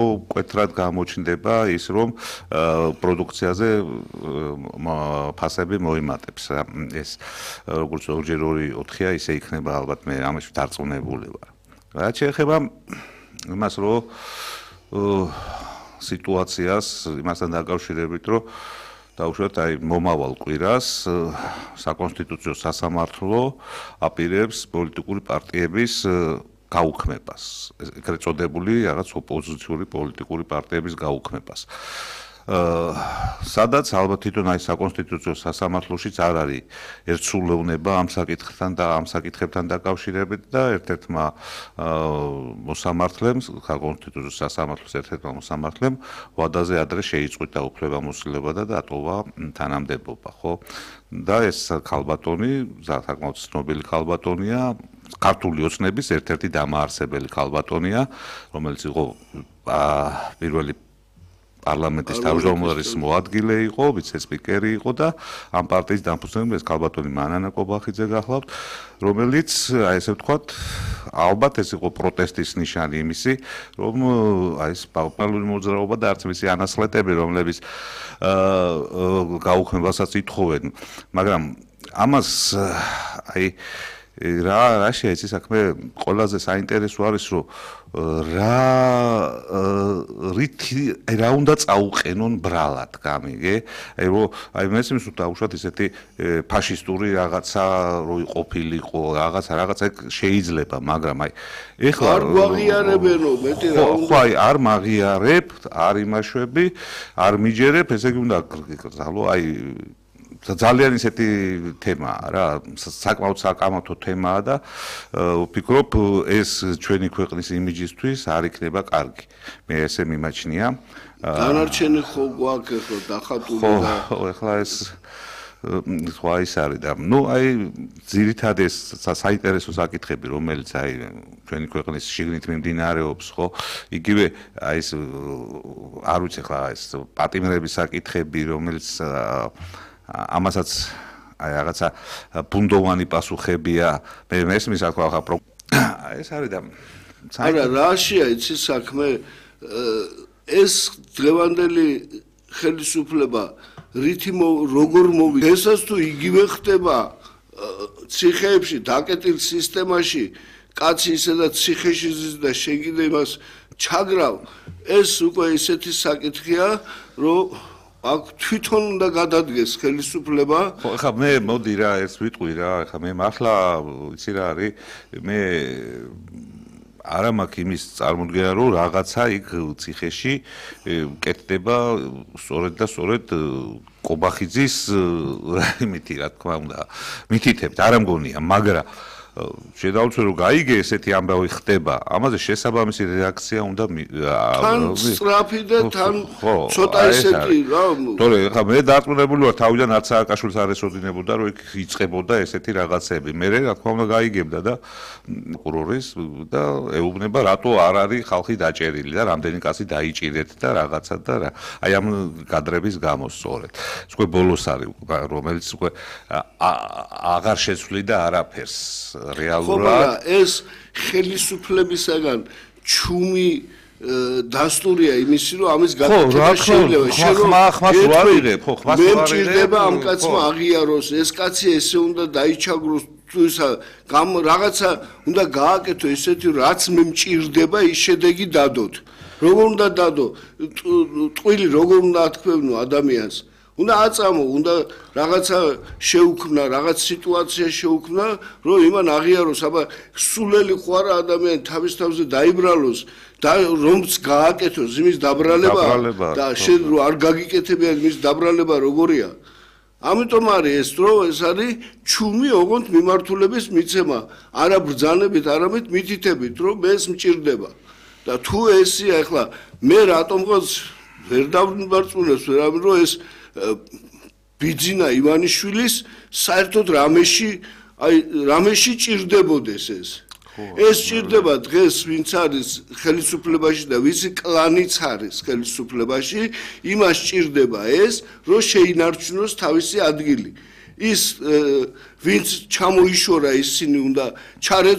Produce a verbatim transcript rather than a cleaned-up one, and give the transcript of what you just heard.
მკვეთრად გამოჩნდება ის, რომ პროდუქციაზე ფასები მოიმატებს. ეს როგორც ორჯერ ორი ოთხია, ისე იქნება ალბათ მე ამაში დარწმუნებული ვარ. რაც შეეხება იმას, რომ სიტუაციას იმასთან დაკავშირებით, რომ დაუშვათ აი მომავალ კვირას საკონსტიტუციო სასამართლო აპირებს პოლიტიკური პარტიების გაუქმებას, ეგრეთ წოდებული რაღაც ოპოზიციური პოლიტიკური პარტიების გაუქმებას. სადაც ალბათ თვითონ აი საკონსტიტუციო სასამართლოშიც არ არის ერთსრულოვნება ამ საკითხთან და ამ საკითხებთან დაკავშირებით და ერთ-ერთმა მოსამართლემ, საკონსტიტუციო სასამართლოს ერთ-ერთმა მოსამართლემ ვადაზე ადრე შეიწყვიტა უფლებამოსილება და დატოვა თანამდებობა, ხო? და ეს ქალბატონი, საკმაოდ ცნობილი ქალბატონია, ქართული ოცნების ერთ-ერთი დამაარსებელი ქალბატონია, რომელიც იყო პირველი პარლამენტის თავმჯდომარის მოადგილე იყო, ვიცე-სპიკერი იყო და ამ პარტიის დამფუძნებელი ეს ქალბატონი მანანა კობახიძე გახლავთ, რომელიც აი ესე ვთქვათ, ალბათ ეს იყო პროტესტის ნიშანი იმისი, რომ აი ეს პარლამენტური მოძრაობა და არც მისი ანასხლეტები, რომლებიც გაუქმებასაც ითხოვენ, მაგრამ ამას აი რა რა შეიძლება საქმე ყველაზე საინტერესო არის რომ რა რითი რა უნდა წაუყენონ ბრალად გამიგე აი რომ აი მესმის თუ დაუშვათ ისეთი ფაშისტური რაღაცა რო იყოფილიყო რაღაცა რაღაცა შეიძლება მაგრამ აი ეხლა არ გვაღიარებენო მეტი რა უნდა ხო აი არ მაღიარებ არ იმაშვები არ მიჯერებ ესე იგი უნდა გზალო აი ძალიან ისეთი თემაა რა საკმაოდ საკამათო თემაა და ვფიქრობ ეს ჩვენი ქვეყნის იმიჯისთვის არ იქნება კარგი მე ესე მიმაჩნია დანარჩენი ხო გვაქვს ხო დახატული და ხო ეხლა ეს სხვა ის არის და ნუ აი ძირითადად ეს საინტერესო საკითხები რომელიც აი ჩვენი ქვეყნის შიგნით მიმდინარეობს ხო იგივე აი ეს არ ვიცი ხა ეს პატიმრების საკითხები რომელიც ამასაც აი რაღაცა ბუნდოვანი პასუხებია მე მესმის რა თქვა ხა ეს არის და არა რაშია იცი საქმე ეს დღევანდელი ხელისუფლება რითი როგორ მოვიდა ესაც თუ იგივე ხდება ციხეებში დაკეტილ სისტემაში კაცი ისედაც ციხეში ზის და შეგიდე იმას ჩაგრავ ეს უკვე ისეთი საკითხია რომ აქ თვითონ უნდა გადადგეს ხელისუფლება ხო ხა მე მოდი რა ეს ვიტყვი რა ხა მე მართლა იცი რა არის მე არა მაქვს იმის წარმოდგენა რომ რაღაცა იქ ციხეში კეთდება სწორედ და სწორედ კობახიძის იმითი რა თქმა უნდა მითითებთ არა მგონია მაგრამ შედავწერ რომ გაიგე ესეთი ამბავი ხდება ამაზე შესაბამისი რეაქცია უნდა თან სწრაფი და თან ცოტა ისეთი რა თორე ხა მე დარწმუნებული ვარ თავიდან არც სააკაშვილს არ ესოდინებოდა რომ იქ იწყებოდა ესეთი რაღაცები მე რა თქმა უნდა გაიგებდა და პროკურორის და ეუბნება რატო არ არის ხალხი დაჭერილი და რამდენი კაცი დაიჭირეთ და რაღაცა და რა აი ამ კადრების გამო სწორედ ეს უკვე ბოლოს არის რომელიც უკვე აღარ შეცვლიდა არაფერს რეალურად ეს ხელისუფლებისაგან ჩუმი დასტურია იმისი რომ ამის გაკეთება შეიძლება ხმა ხმას ვარიღებ ხო ხმას ვარიღებ მე მჭირდება ამ კაცმა აღიაროს ეს კაცი ესე უნდა დაიჩაგროს თუ ისა რაღაცა უნდა გააკეთო ესეთი რაც მე მჭირდება ის შედეგი დადოთ როგორ უნდა დადო ტყვილი როგორ უნდა ათქვევნო ადამიანს უნდა აწამო, უნდა რაღაცა შეუქმნა, რაღაც სიტუაცია შეუქმნა, რომ იმან აღიაროს, აბა სულელი ხო არა ადამიანი თავის თავზე დაიბრალოს და რომც გააკეთოს იმის დაბრალება და შენ რო არ გაგიკეთებია იმის დაბრალება როგორია. ამიტომ არის ეს რომ ეს არის ჩუმი ოღონდ მიმართულების მიცემა, არა ბრძანებით, არამედ მითითებით, რომ ეს მჭირდება. და თუ ესია ახლა მე რატომღაც ვერ დავმარწმუნებს ვერავინ რომ ეს ბიძინა ივანიშვილის საერთოდ რამეში აი რამეში ჭირდებოდეს ეს ეს ჭირდება დღეს ვინც არის ხელისუფლებაში და ვისი კლანიც არის ხელისუფლებაში იმას ჭირდება ეს რომ შეინარჩუნოს თავისი ადგილი ის ვინც ჩამოიშორა ისინი უნდა ჩარეთ